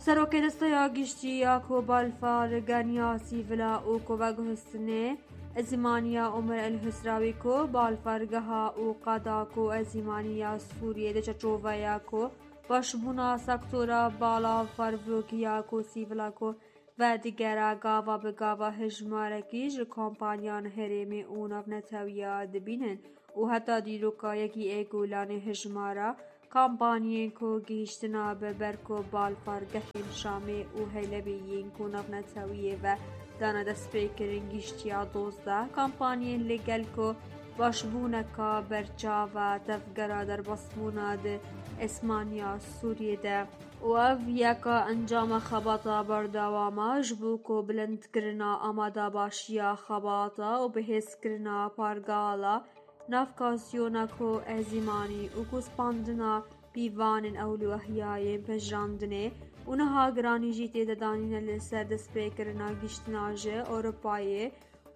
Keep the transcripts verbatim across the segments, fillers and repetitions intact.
Serokê Desteya Giştî ya ku balfirgehaniya sîvil a û ku veguhestinê Ezîmaniya Omer El Husrawî ku balfirgeha û qada ku ezîmaniya Sûriyê di çarçoveya ku başbûna sektora balafirgiha ku sîvil a ku vedigere gava bi gava hejmarekî ji kompaniyan herêmê û navnetewiya dibînin û heta dîroka yekî Êgulanê hejmara Kampanyên ku gihîştina bi ber ku balfirgehên Şamê û Helebê yên ku navnetewiyê ve dane destpêkirin gihîştiya dozdeh kampanyên li gel ku başbûneka berçav e tevgera derbasbûna di esmaniya Sûriyê de û ev yeka encama xebata berdewam e ji bo ku bilindkirina amadebaşiya xebata û bihêzkirina pargala navkasyona ku ezîmanî û ku spandina pîvanên ewlewehiyayên pejirandinê û niha giranî jî tê de danîne li ser destpêkirina gihiştina ji Ewropayê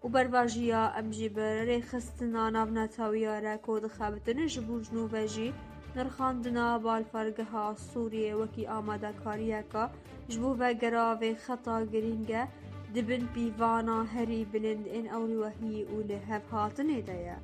û bervajiya em jî bi rêxistina navnetewiya re ku dixebitin ji bo jinû ve jî nirxandina balfirgeha Sûriyê wekî amadekariyeka ji bo vegera vê xeta girîng e di bin pîvana herî bilind ên ewlewehî û lihevhatinê de ye.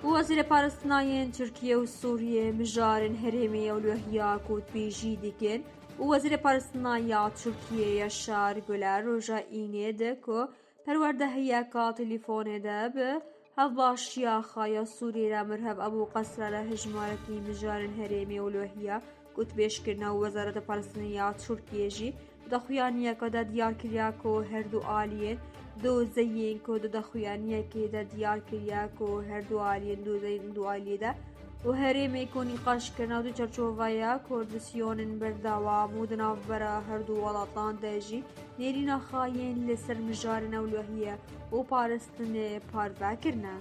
Û Wezîrê Parastina yên Tirkiye û Sûriye mijarên herêmê ewlehiya kotbêjî dikin û Wezîrê Parastina ya Tirkiye Yaşar Güler roja Înê de ku perwerdehiyeka telîfonê de bi hevbaşiya xwe ya Sûriyê re mirhev Ebû Qesra re hejmarekî mijarên herêmê ewlehiya kotbêj kirine û Wezareta Parastinê ya Tirkiye jî di daxuyaniyeke de diyar kiriya ku her du aliyên dozeyên ku di daxuyaniyekê de diyar kiriya ku her du aliyên dozeyên du aliyê de û herêmê ku nîqaş kirine di çarçoveya koordinasyonên berdewam û di navbera her du welatan de jî nêrîna xwe yên li ser mijarên ewlehiye û parastinê parve kirine.